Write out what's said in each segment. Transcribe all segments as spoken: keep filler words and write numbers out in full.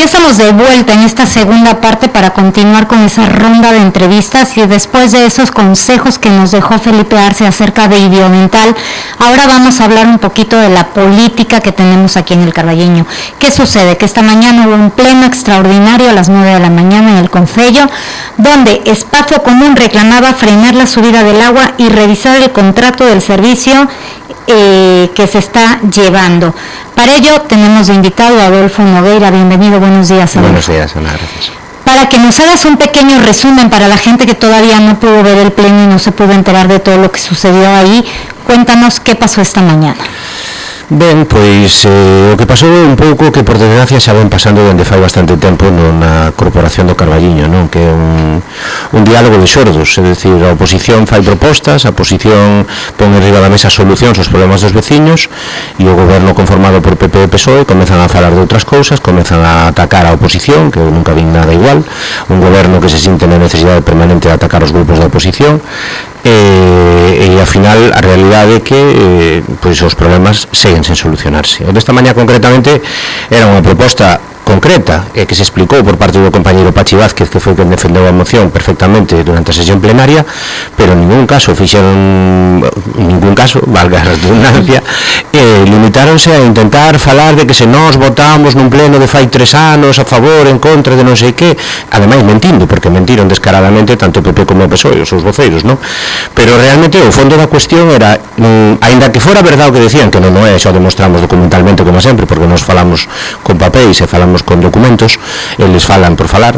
ya estamos de vuelta en esta segunda parte para continuar con esa ronda de entrevistas y después de esos consejos que nos dejó Felipe Arce acerca de Idiomental, ahora vamos a hablar un poquito de la política que tenemos aquí en el Carballeño. ¿Qué sucede? Que esta mañana hubo un pleno extraordinario a las nueve de la mañana en el Concello, donde Espacio Común reclamaba frenar la subida del agua y revisar el contrato del servicio eh, que se está llevando. Para ello tenemos de invitado a Adolfo Nogueira. Bienvenido, buenos días, Adolfo. Buenos días, Ana, gracias. Para que nos hagas un pequeño resumen para la gente que todavía no pudo ver el pleno y no se pudo enterar de todo lo que sucedió ahí, cuéntanos qué pasó esta mañana. Ben, pois eh, o que pasou un pouco que por desgracia xa ven pasando dende fai bastante tempo na Corporación do Carballiño, non? Que é un, un diálogo de xordos, é dicir, a oposición fai propostas, a oposición pon en riba da mesa solucións aos problemas dos veciños e o goberno conformado por P P e P S O E comezan a falar de outras cousas, comezan a atacar a oposición, que eu nunca vi nada igual, un goberno que se sinte na necesidade permanente de atacar os grupos da oposición. E, e ao final a realidade é que eh, pois os problemas seguen sen solucionarse. O desta mañá concretamente era unha proposta concreta e que se explicou por parte do compañeiro Pachi Vázquez, que foi quen defendeu a moción perfectamente durante a sesión plenaria, pero en ningún caso fixeron en ningún caso, valga a redundancia, eh, limitáronse a intentar falar de que se nós votamos nun pleno de fai tres anos a favor, en contra de non sei que, ademais mentindo, porque mentiron descaradamente tanto o P P como o P S O E, os seus voceiros, non? Pero realmente o fondo da cuestión era, mm, aínda que fora verdade o que decían, que non é, xa o demostramos documentalmente como sempre, porque nos falamos con papéis e falamos con documentos, eles falan por falar,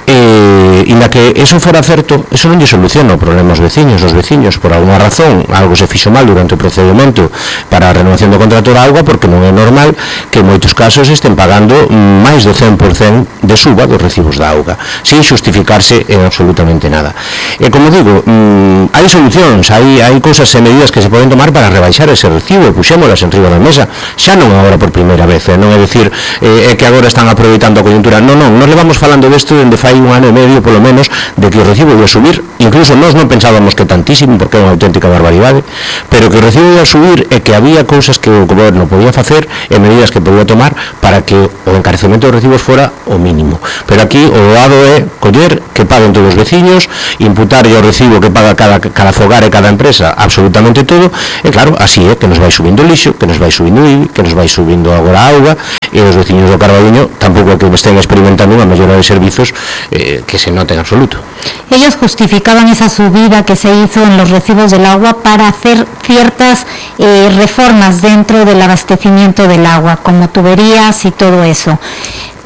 e inda que eso fora certo, eso non lle soluciona o problema aos veciños. Os veciños, por alguna razón, algo se fixo mal durante o procedimento para a renovación do contrato da auga, porque non é normal que en moitos casos estén pagando máis do cen por cento de suba dos recibos da auga, sin justificarse en absolutamente nada. E como digo, mmm, hai solucións, hai, hai cousas e medidas que se poden tomar para rebaixar ese recibo, e puxémolas en riba da mesa, xa non agora por primeira vez, eh? Non é dicir eh, é que agora están aproveitando a coyuntura, non, non, nos levamos falando desto dende fai un ano e medio polo menos, de que o recibo ia subir, incluso nós non pensábamos que tantísimo, porque é unha auténtica barbaridade, pero que o recibo ia subir e que había cousas que o goberno podía facer e medidas que podía tomar para que o encarecemento dos recibos fora o mínimo. Pero aquí o doado é coller que paguen todos os veciños, imputar o recibo que paga cada, cada fogar e cada empresa, absolutamente todo, e claro, así é que nos vai subindo o lixo, que nos vai subindo o I B I, que nos vai subindo agora a auga, e os veciños do Carballiño tampouco que estén experimentando unha mellora de servizos eh, que se note en absoluto. Ellos justificaban esa subida que se hizo en los recibos del agua para hacer ciertas eh, reformas dentro del abastecimiento del agua, como tuberías y todo eso.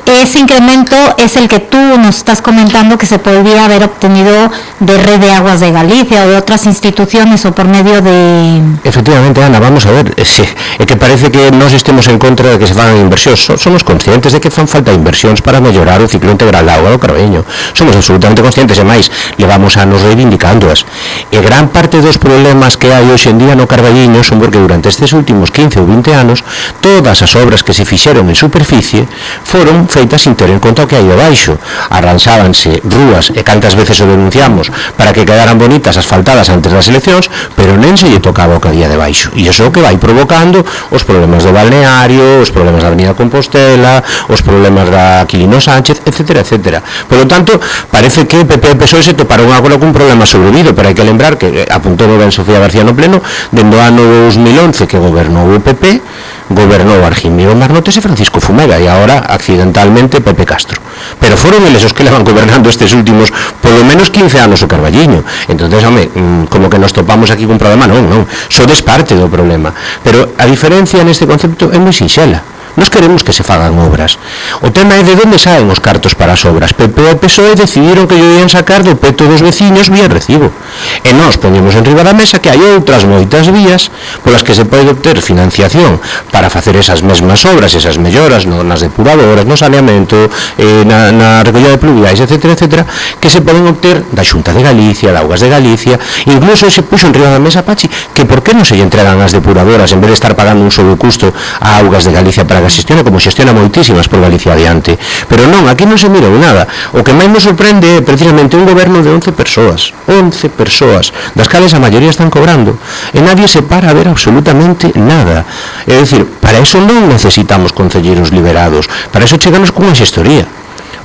Ese incremento es el que tú nos estás comentando que se podría haber obtenido de Red de Aguas de Galicia o de otras instituciones o por medio de... Efectivamente, Ana, vamos a ver, é que parece que nós estemos en contra de que se fagan inversións. Somos conscientes de que fan falta inversións para mellorar o ciclo integral da auga do Carballiño. Somos absolutamente conscientes, e máis, levamos anos reivindicándoas. E gran parte dos problemas que hai hoxe en día no Carballiño son porque durante estes últimos quince ou vinte anos todas as obras que se fixeron en superficie foron feitas sin ter en conta o que hai debaixo. Arranxábanse rúas, e cantas veces o denunciamos, para que quedaran bonitas asfaltadas antes das eleccións, pero nen se lle tocaba o que había debaixo. E iso que vai provocando os problemas do balneario, os problemas da Avenida Compostela, os problemas da Quilino Sánchez, etcétera, etcétera. Por lo tanto, parece que P P e P S O E se toparon agora cun problema sobrevido, pero hai que lembrar que apuntou ben Sofía García no pleno, dende o ano dos mil once que gobernou o P P, gobernou Argimiro Marnotes e Francisco Fumega, e agora accidentalmente Pepe Castro, pero foron eles os que levan gobernando estes últimos polo menos quince anos o Carballiño. Entonces, home, como que nos topamos aquí cun problema, non, non, sodes parte do problema, pero a diferencia neste concepto é moi sinxela. Nos queremos que se fagan obras. O tema é de onde saen os cartos para as obras. P P e P S O E decidiron que lle ian sacar do peto dos veciños vía recibo. E nós poñemos en riba da mesa que hai outras moitas vías polas que se pode obter financiación para facer esas mesmas obras, esas melloras no, nas depuradoras, no saneamento, eh, na, na recollida de pluviais, etcétera, etcétera, que se poden obter da Xunta de Galicia, da Augas de Galicia. Incluso se puxo en riba da mesa, Pachi, que por que non se lle entregan as depuradoras en vez de estar pagando un sobrecusto a Augas de Galicia para para que xestione como xestiona moitísimas por Galicia adiante, pero non, aquí non se mirou nada. O que máis me sorprende é precisamente un goberno de once persoas, once persoas, das cales a maioría están cobrando, e nadie se para a ver absolutamente nada. É dicir, para eso non necesitamos concelleiros liberados, para eso cheganos cunha xestoría.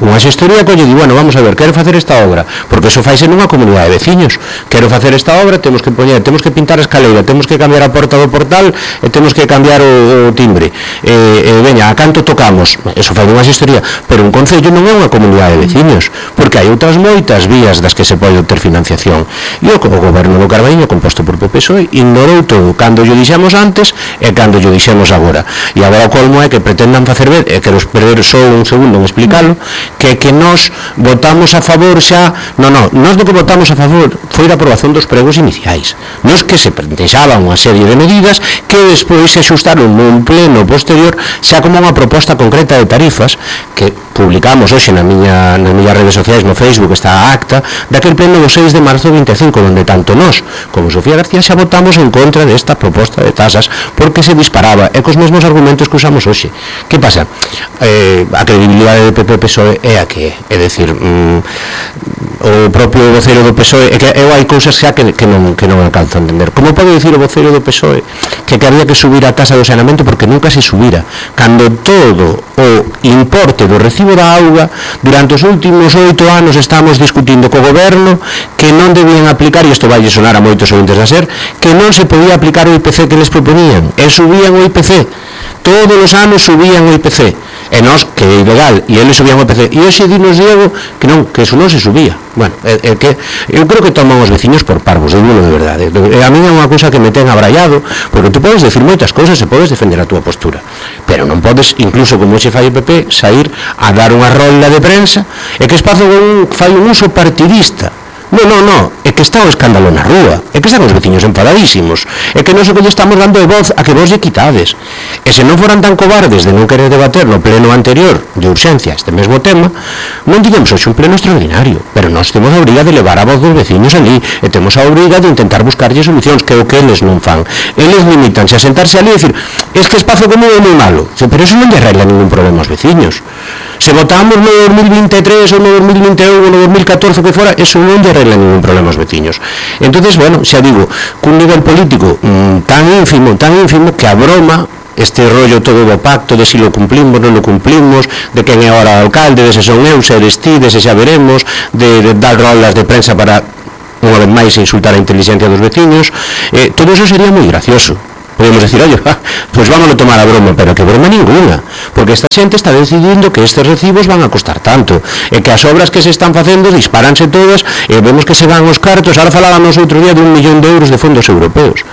Unha xestoría colle di, bueno, vamos a ver, quero facer esta obra, porque eso faise nunha comunidade de veciños. Quero facer esta obra, temos que poñer, temos que pintar a escaleira, temos que cambiar a porta do portal e temos que cambiar o, o timbre. E, e veña, a canto tocamos? Eso fai unha xestoría, pero un concello non é unha comunidade de veciños, porque hai outras moitas vías das que se pode obter financiación. E o, o goberno do Carballiño, composto por P P P S O E, ignorou todo, cando yo dixemos antes e cando yo dixemos agora. E agora o colmo é que pretendan facer ver, e quero perder só un segundo en explicalo, que que nós votamos a favor xa, non, non, nós do que votamos a favor foi a aprobación dos pregos iniciais, nos que se plantexaban unha serie de medidas que despois se axustaron nun pleno posterior xa como unha proposta concreta de tarifas que publicamos hoxe na miña, nas miñas redes sociais, no Facebook, está a acta daquel pleno do seis de marzo de vinte e cinco, onde tanto nós como Sofía García xa votamos en contra desta proposta de tasas porque se disparaba e cos mesmos argumentos que usamos hoxe. Que pasa? Eh, a credibilidade de P P P S O E é a que é, é dicir, mm, o propio vocero do P S O E, é que eu hai cousas xa que, que, non, que non alcanzo a entender. Como pode dicir o vocero do P S O E que, que había que subir a tasa do saneamento porque nunca se subira, cando todo o importe do recibo da auga durante os últimos oito anos estamos discutindo co goberno que non debían aplicar, e isto vai sonar a moitos ouvintes da SER, que non se podía aplicar o I P C que les proponían, e subían o I P C, todos os anos subían o I P C, e nós, que é ilegal, e eles subían o I P C, e hoxe dinos Diego que non, que eso non se subía. Bueno, é, é que eu creo que toman os veciños por parvos, digo de verdade. A mí é unha cousa que me ten abraiado, porque tú podes decir moitas cousas e podes defender a túa postura, pero non podes, incluso como xe fai o P P, sair a dar unha rolda de prensa e que espazo un, fai un uso partidista. Non, non, non, é que está o escándalo na rúa, é que están os veciños enfadadísimos, é que non sei que lle estamos dando de voz a que vos lle quitades. E se non foran tan cobardes de non querer debater no pleno anterior de urxencia este mesmo tema, non digamos hoxe un pleno extraordinario, pero nós temos a obriga de levar a voz dos veciños ali, e temos a obriga de intentar buscarlle solucións, que é o que eles non fan. Eles limitanse a sentarse ali e dicir, es que espazo común é moi malo, pero eso non lle arregla ningún problema aos veciños. Se votamos no dos mil vinte e tres ou no dos mil vinte e un ou no dos mil catorce que fora, eso non lle arregla ningún problema aos veciños. Entonces, bueno, xa digo, cun nivel político mmm, tan ínfimo, tan ínfimo que a broma, este rollo todo do pacto de si lo cumplimos, non lo cumplimos, de quen é ahora o alcalde, de se son eu, se eres ti, de se xa veremos, de, de dar rolas de prensa para unha vez máis insultar a inteligencia dos veciños, eh, todo eso sería moi gracioso. Podemos decir, oye, ah, pues vámonos a tomar a broma, pero que broma ninguna, porque esta xente está decidindo que estes recibos van a costar tanto, e que as obras que se están facendo disparanse todas, e vemos que se van os cartos. Ahora falábamos outro día de un millón de euros de fondos europeos.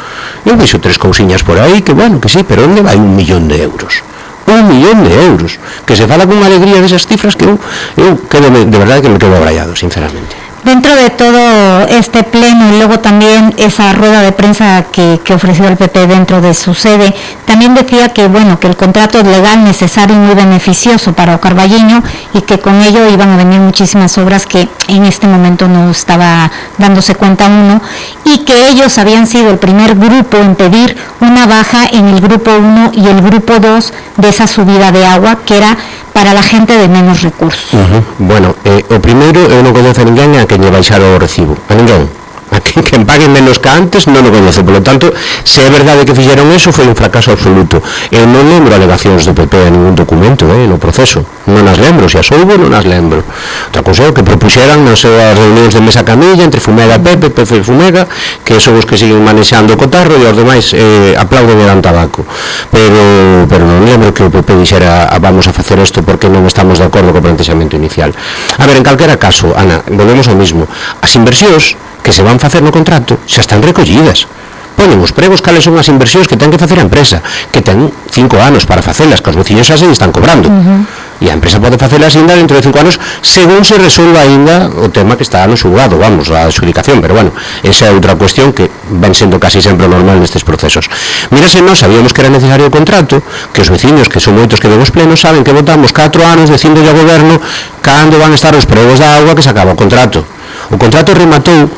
Eu vexo tres cousiñas por aí, que bueno, que sí, pero onde vai un millón de euros? Un millón de euros, que se fala con alegría desas cifras que eu, eu quedo, de verdade que me quedo abraiado, sinceramente. Dentro de todo este pleno y luego también esa rueda de prensa que, que ofreció el P P dentro de su sede, también decía que bueno que el contrato es legal, necesario y muy beneficioso para o Carballiño y que con ello iban a venir muchísimas obras que en este momento no estaba dándose cuenta uno, y que ellos habían sido el primer grupo en pedir una baja en el grupo uno y el grupo dos de esa subida de agua que era para la gente de menos recursos. Uh-huh. Bueno, eh, o primeiro, eu non coñezo a ninguén a quen lle baixar o recibo, a ninguén. A quen, quen pague menos que antes non o coñezo, polo tanto, se é verdade que fixeron eso, foi un fracaso absoluto. Eu non lembro alegacións do P P a ningún documento, eh, no proceso, non as lembro, se as houbo, non as lembro. Outra cousa é que propuxeran nas súas reunións de mesa camilla entre Fumega e Pepe, Pepe e Fumega, que son os que siguen manexando o cotarro, e os demais eh, aplauden e dan tabaco. Pero, pero non lembro que o P P dixera ah, vamos a facer isto porque non estamos de acordo co plantexamento inicial. A ver, en calquera caso, Ana, volvemos ao mismo. As inversións que se van facer no contrato xa están recollidas. Ponen os pregos cales son as inversións que ten que facer a empresa, que ten cinco anos para facelas, que os veciños xa se están cobrando. Uh-huh. E a empresa pode facelas ainda dentro de cinco anos según se resolva ainda o tema que está no xulgado, vamos, a adxudicación, pero bueno, esa é outra cuestión que ven sendo casi sempre normal nestes procesos. Mírase, nós sabíamos que era necesario o contrato, que os veciños, que son moitos que vemos plenos, saben que votamos catro anos dicindo ao goberno cando van a estar os pregos da agua que se acaba o contrato. O contrato rematou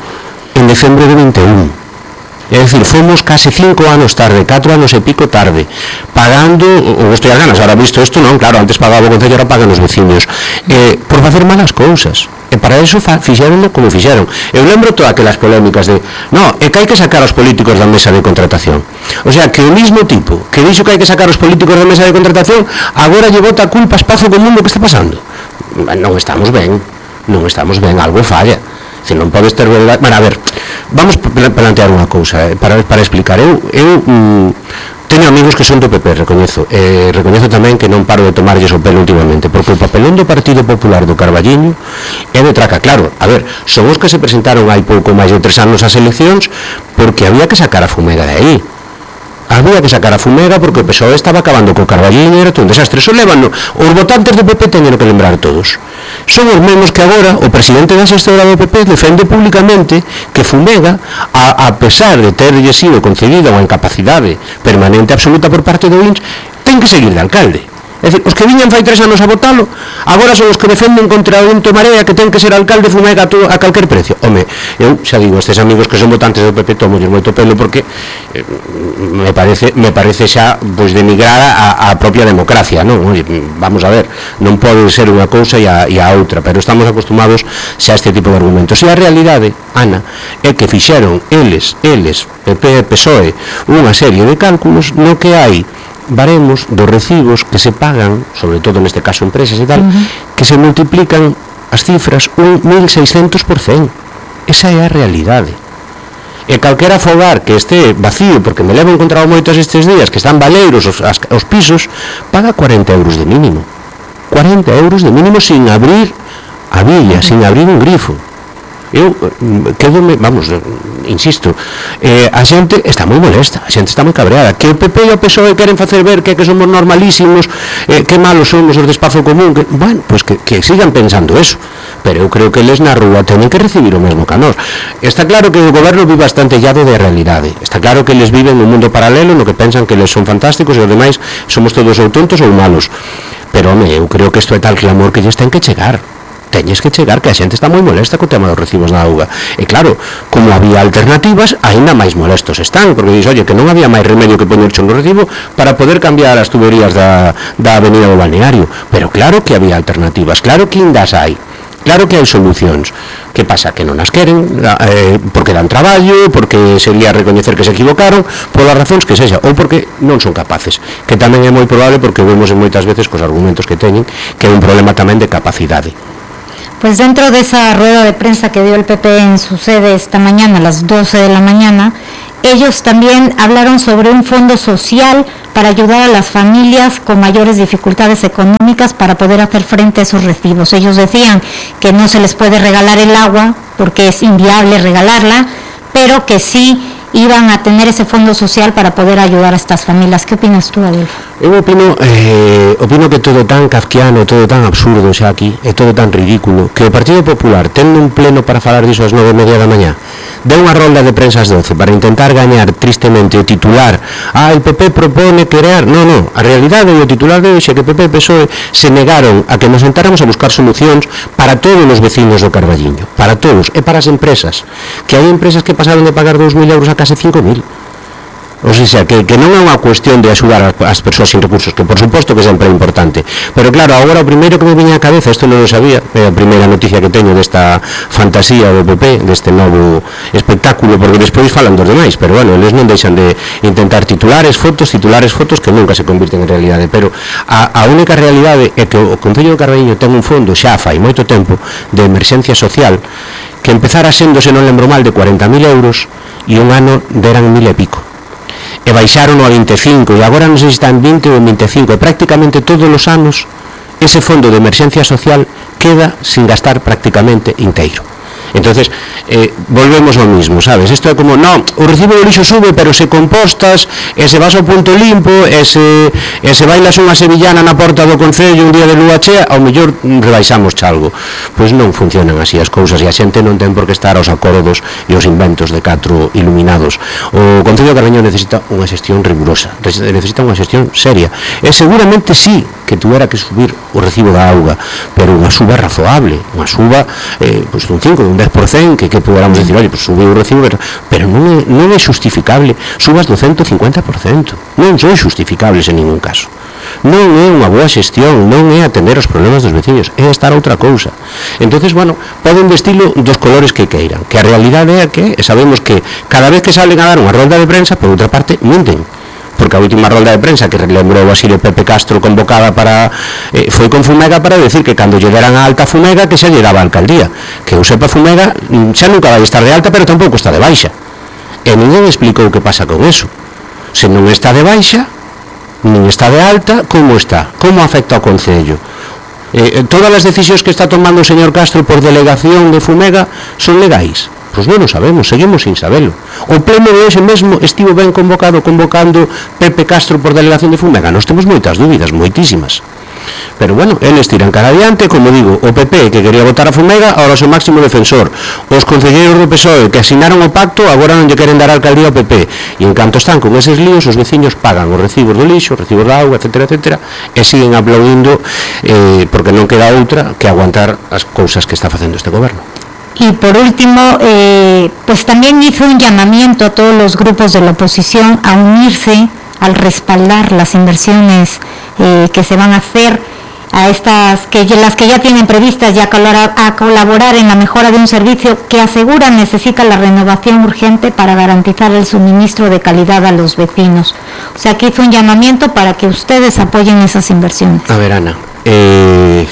en decembro de vinte e un. É dicir, fomos case cinco anos tarde, catro anos e pico tarde, pagando, ou estou as ganas, ahora visto isto non, claro, antes pagaba o Concello, ahora pagan os veciños, eh, por facer malas cousas. E para eso fixeronlo como fixeron. Eu lembro todas aquelas polémicas de no, é que hai que sacar os políticos da mesa de contratación. O sea, que o mismo tipo que dixo que hai que sacar os políticos da mesa de contratación agora lle bota a culpa a Espazo Común do que está pasando. Non estamos ben, non estamos ben, algo falla. Se non podes ter verdade. Bueno, a ver, vamos a plantear unha cousa, eh, para, para explicar. Eu, eu mm, teño amigos que son do P P, recoñezo. Eh, recoñezo tamén que non paro de tomarlles o pelo últimamente, porque o papelón do Partido Popular do Carballiño é de traca. Claro, a ver, son os que se presentaron hai pouco máis de tres anos ás eleccións porque había que sacar a fumega de aí. Había que sacar a fumega porque o P S O E estaba acabando co Carballiño e era todo un desastre. Eso levan, os votantes do P P teñen que lembrar todos. Son os mesmos que agora o presidente da xestora do P P defende públicamente que Fumega, a, a pesar de terlle sido concedida unha incapacidade permanente absoluta por parte do I N S, ten que seguir de alcalde. É dicir, os que viñan fai tres anos a votalo agora son os que defenden contra o Vento Marea que ten que ser alcalde Fumega a, todo, a calquer precio. Home, eu xa digo, estes amigos que son votantes do P P tomolles moito pelo porque eh, me parece me parece xa pois denigrar a, a propia democracia, non? Oye, vamos a ver, non pode ser unha cousa e a, e a outra, pero estamos acostumados xa a este tipo de argumentos. E a realidade, Ana, é que fixeron eles, eles, P P e P S O E, unha serie de cálculos no que hai baremos dos recibos que se pagan, sobre todo neste caso empresas e tal, uh-huh. que se multiplican as cifras un mil seiscentos por cento. Esa é a realidade. E calquera fogar que este vacío, porque me levo encontrado moitos estes días, que están baleiros os, as, os pisos, paga cuarenta euros de mínimo. cuarenta euros de mínimo sin abrir a villa, uh-huh. sin abrir un grifo. Eu quedome, vamos, insisto, eh, a xente está moi molesta, a xente está moi cabreada, que o P P e o P S O E queren facer ver que, que somos normalísimos, eh, que malos somos os de Espazo Común, que, bueno, pues que, que sigan pensando eso, pero eu creo que eles na rúa teñen que recibir o mesmo que a nós. Está claro que o goberno vive bastante llado de realidade, está claro que eles viven un mundo paralelo no que pensan que eles son fantásticos e os demais somos todos ou tontos ou malos, pero home, eu creo que isto é tal clamor que lles ten que chegar. Teñes que chegar, que a xente está moi molesta co tema dos recibos da auga. E claro, como había alternativas, aínda máis molestos están, porque dis, oye, que non había máis remedio que poñerche no recibo para poder cambiar as tuberías da, da avenida do balneario. Pero claro que había alternativas, claro que indas hai, claro que hai solucións. Que pasa? Que non as queren, eh, porque dan traballo, porque sería recoñecer que se equivocaron, polas razóns que sexa, ou porque non son capaces, que tamén é moi probable porque vemos en moitas veces cos argumentos que teñen, que é un problema tamén de capacidade. Pues dentro de esa rueda de prensa que dio el P P en su sede esta mañana, a las doce de la mañana, ellos también hablaron sobre un fondo social para ayudar a las familias con mayores dificultades económicas para poder hacer frente a esos recibos. Ellos decían que no se les puede regalar el agua porque es inviable regalarla, pero que sí iban a tener ese fondo social para poder ayudar a estas familias. ¿Qué opinas tú, Adolfo? Eu opino, eh, opino que todo tan kafkiano, todo tan absurdo xa aquí, é todo tan ridículo, que o Partido Popular ten un pleno para falar diso ás nove e media da mañá, deu unha rolda de prensa ás doce para intentar gañar tristemente o titular. Ah, el P P propone crear... No, no, a realidade e o titular de hoxe que P P e P S O E se negaron a que nos sentáramos a buscar solucións para todos os vecinos do Carballiño, para todos, e para as empresas, que hai empresas que pasaron de pagar dous mil euros a case cinco mil. O sea, que, que non é unha cuestión de axudar as persoas sin recursos, que por suposto que sempre é importante, pero claro, agora o primeiro que me viña a cabeza, isto non o sabía, é a primeira noticia que teño desta fantasía do P P, deste novo espectáculo, porque despois falan dos demais, pero bueno, eles non deixan de intentar titulares, fotos, titulares, fotos que nunca se convirten en realidade, pero a, a única realidade é que o Concello do Carballiño ten un fondo xa fai moito tempo de emerxencia social que empezara sendo, se non lembro mal, de cuarenta mil euros e un ano deran mil e pico. E baixaron a vinte e cinco e agora non sei se está en vinte ou en vinte e cinco, e prácticamente todos os anos ese fondo de emerxencia social queda sin gastar prácticamente inteiro. Entonces, eh, volvemos ao mismo, sabes? Isto é como, non, o recibo de lixo sube, pero se compostas, e se vas ao punto limpo, e se, e se bailas unha sevillana na porta do Concello un día de lúa chea, ao mellor rebaixamos chalgo. Pois non funcionan así as cousas, e a xente non ten por que estar aos acordos e aos inventos de catro iluminados. O Concello de Carballiño necesita unha xestión rigurosa, necesita unha xestión seria, e seguramente sí que tuera que subir o recibo da auga, pero unha suba razoable, unha suba eh, pois dun cinco, dun dez por cento, que, que podamos decir, oye, pues subiu o recibo, pero non é, non é justificable, subas do ciento cincuenta por cento, non son justificables en ningún caso. Non é unha boa xestión, non é atender os problemas dos veciños, é estar a outra cousa. Entonces, bueno, poden vestilo dos colores que queiran, que a realidade é que sabemos que cada vez que salen a dar unha rolda de prensa, por outra parte, mienten. Porque a última rolda de prensa que lembrou así de Pepe Castro convocada para eh, foi con Fumega para decir que cando lle deran a alta Fumega que xa lle daba a alcaldía, que eu sepa Fumega xa nunca vai estar de alta, pero tampouco está de baixa, e ninguén explicou que pasa con eso. Se non está de baixa nin está de alta, como está? Como afecta ao Concello? Eh, todas as decisións que está tomando o señor Castro por delegación de Fumega son legais? Pois non o sabemos, seguimos sin sabelo. O pleno de hoxe mesmo estivo ben convocado, convocando Pepe Castro por delegación de Fumega. Nós temos moitas dúbidas, moitísimas. Pero bueno, eles tiran cara adiante, como digo, o P P que quería votar a Fumega, ahora o seu máximo defensor. Os concelleiros do P S O E que asinaron o pacto, agora non lle queren dar a alcaldía ao P P. E en canto están con eses líos, os veciños pagan os recibos do lixo, os recibos da auga, etcétera, etcétera, e siguen aplaudindo eh, porque non queda outra que aguantar as cousas que está facendo este goberno. Y por último, eh, pues también hizo un llamamiento a todos los grupos de la oposición a unirse al respaldar las inversiones eh, que se van a hacer, a estas que las que ya tienen previstas y a colaborar, a colaborar en la mejora de un servicio que asegura necesita la renovación urgente para garantizar el suministro de calidad a los vecinos. O sea, que hizo un llamamiento para que ustedes apoyen esas inversiones. A ver, Ana, eh...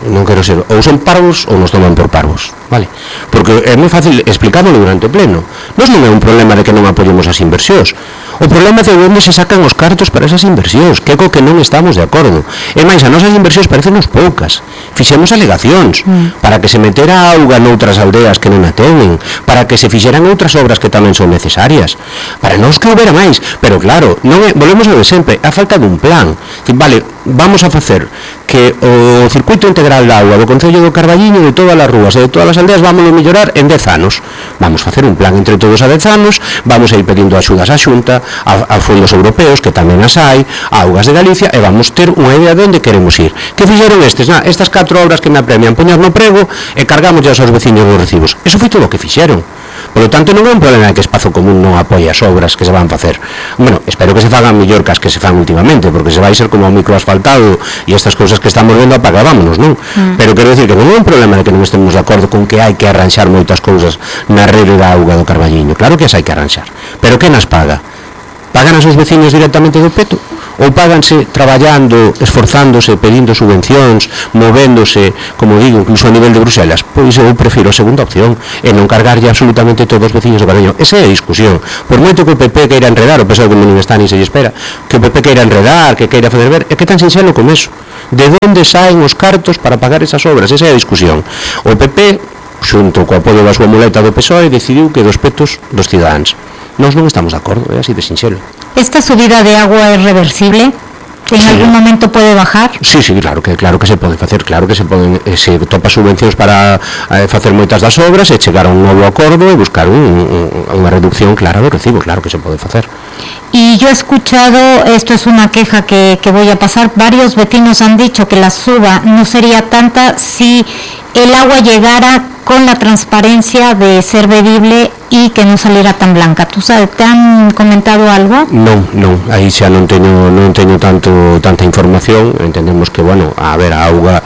non quero ser, ou son parvos ou nos toman por parvos, vale? Porque é moi fácil explicámoslo durante o pleno. Nos non é un problema de que non apoyemos as inversións, o problema é de onde se sacan os cartos para esas inversións, que é co que non estamos de acordo. E máis, as nosas inversións parecenos poucas, fixemos alegacións mm. para que se metera auga noutras aldeas que non a teñen, para que se fixeran outras obras que tamén son necesarias, para non que houbera máis, pero claro, non é, volvemos a de sempre, a falta dun plan. Vale, vamos a facer que o circuito integral da auga do Concello do Carballiño, de todas as rúas e de todas as aldeas, vamos a mellorar en dez anos. Vamos a facer un plan entre todos a dez anos, vamos a ir pedindo axudas á Xunta, a, a fondos europeos, que tamén as hai, a Augas de Galicia, e vamos ter unha idea de onde queremos ir. Que fixeron estes? Na, estas catro obras que me apremian poñer no prego e cargamos ya aos veciños dos recibos. Eso foi todo o que fixeron. Por lo tanto, non é un problema de que Espazo Común non apoia as obras que se van facer. Bueno, espero que se fagan mellor que as que se fan últimamente, porque se vai ser como o microasfaltado e estas cousas que estamos vendo, apagámonos, non? Mm. Pero quero decir que non é un problema de que non estemos de acordo con que hai que arranxar moitas cousas na rede da auga do Carballiño. Claro que as hai que arranxar. Pero que nas paga? Pagan as os veciños directamente do peto? Ou páganse traballando, esforzándose, pedindo subvencións, movéndose, como digo, incluso a nivel de Bruselas? Pois eu prefiro a segunda opción, e non cargarlle absolutamente todos os veciños do Carballiño. Esa é a discusión. Por moito que o P P queira enredar, o P S O E que non está ni se lle espera, que o P P queira enredar, que queira fazer ver, é que tan sinxelo como eso. De onde saen os cartos para pagar esas obras? Esa é a discusión. O P P, xunto co apoio da súa muleta do P S O E, decidiu que dos petos dos cidadáns. Nós non estamos de acordo, é así de sinxelo. ¿Esta subida de agua es reversible? ¿En sí. algún momento puede bajar? Sí, sí, claro que claro que se pode facer, claro que se poden eh, se topa subvencións para eh, facer moitas das obras e chegar a un novo acordo e buscar un, un, unha reducción clara do recibo, claro que se pode facer. Y yo he escuchado, esto es una queja que, que voy a pasar, varios vecinos han dicho que la suba no sería tanta si el agua llegara con la transparencia de ser bebible y que non saliera tan blanca. ¿Tú sabes, te han comentado algo? Non, non, aí xa non teño non teño tanto tanta información. Entendemos que, bueno, a ver, a auga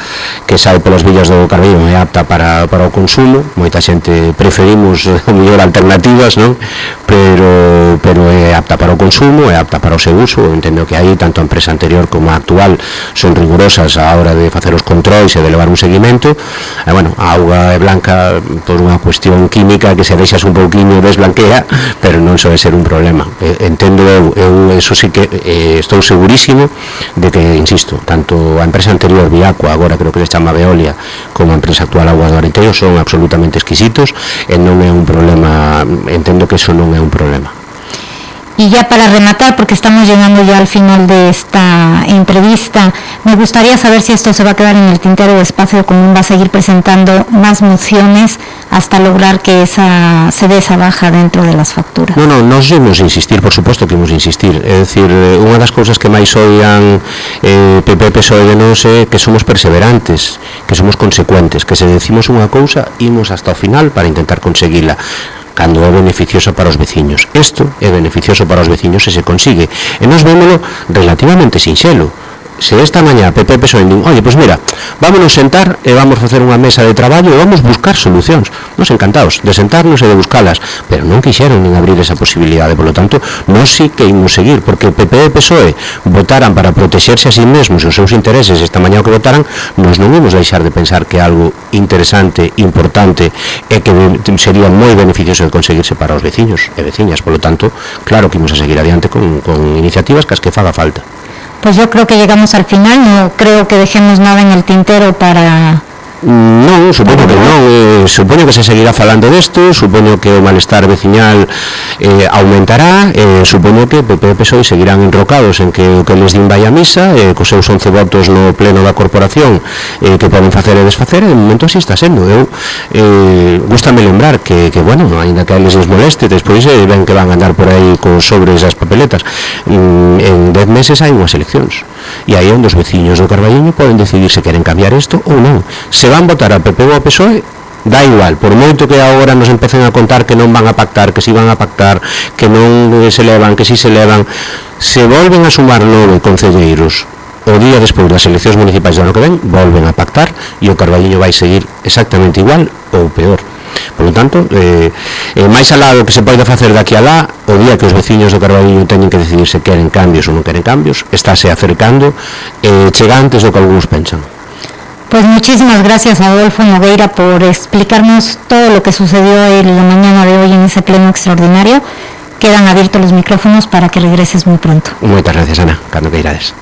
que sae polas villas do Carballiño é apta para, para o consumo. Moita xente preferimos a mellor alternativas, non? Pero pero é apta para o consumo, é apta para o seu uso. Entendo que aí tanto a empresa anterior como a actual son rigurosas á hora de facer os controis e de levar un seguimento. E, bueno, a auga é blanca por unha cuestión química que se deixas un pouquinho desblanquea, pero non soe ser un problema. Entendo eu, eu eso sí que eh, estou segurísimo de que, insisto, tanto a empresa anterior Viacua, agora creo que se chama Veolia, como a empresa actual Augas do Arenteiro son absolutamente exquisitos e non é un problema, entendo que eso non é un problema. Y ya para rematar, porque estamos llegando ya al final de esta entrevista, me gustaría saber si esto se va a quedar en el tintero de Espacio Común, va a seguir presentando más mociones hasta lograr que esa se dé esa baja dentro de las facturas. No, no, nos imos insistir, por suposto que imos insistir. É dicir, unha das cousas que máis oian eh, P P, P S O E de nos é que somos perseverantes, que somos consecuentes, que se decimos unha cousa, imos hasta o final para intentar conseguila, cando é beneficioso para os veciños. Isto é beneficioso para os veciños se se consigue. E nós vémolo relativamente sinxelo. Se esta mañá P P P S O E din, oye, pois mira, vámonos sentar e vamos facer unha mesa de traballo e vamos buscar solucións. Nos encantados de sentarnos e de buscalas, pero non quixeron nin abrir esa posibilidade. Por lo tanto, nos sí que imos seguir, porque P P e P S O E votaran para protexerse a sí mesmos e os seus intereses esta mañá o que votaran, nos non imos deixar de pensar que algo interesante, importante e que sería moi beneficioso de conseguirse para os veciños e veciñas. Por lo tanto, claro que imos a seguir adiante con, con iniciativas que as que faga falta. Pues yo creo que llegamos al final, no creo que dejemos nada en el tintero para... Non, supoño que non, eh, supoño que se seguirá falando desto, supoño que o malestar veciñal eh, aumentará, eh, supoño que P P e P S O E seguirán enrocados en que o que les din vai a misa, eh, cos seus once votos no pleno da corporación eh, que poden facer e desfacer, e de momento así está sendo. Eu eh, gústame lembrar que, que bueno, ainda que a eles les moleste, despois eh, ven que van a andar por aí con sobres as papeletas, mm, en dez meses hai unhas eleccións, e aí onde os veciños do Carballiño poden decidir se queren cambiar isto ou non. Se van votar a P P ou a P S O E, dá igual, por moito que agora nos empecen a contar que non van a pactar, que si van a pactar, que non se levan, que si se levan, se volven a sumar nove concelleiros o día despois das eleccións municipais do ano que ven, volven a pactar e o Carballiño vai seguir exactamente igual ou peor. Por lo tanto, eh, eh, máis alá do que se pode facer daqui a lá, o día que os veciños do Carballiño teñen que decidir se queren cambios ou non queren cambios, estáse acercando, eh, chega antes do que algúns pensan. Pues muchísimas gracias a Adolfo Nogueira por explicarnos todo lo que sucedió en la mañana de hoy en ese pleno extraordinario. Quedan abiertos los micrófonos para que regreses muy pronto. Moitas gracias, Ana, cando queirades.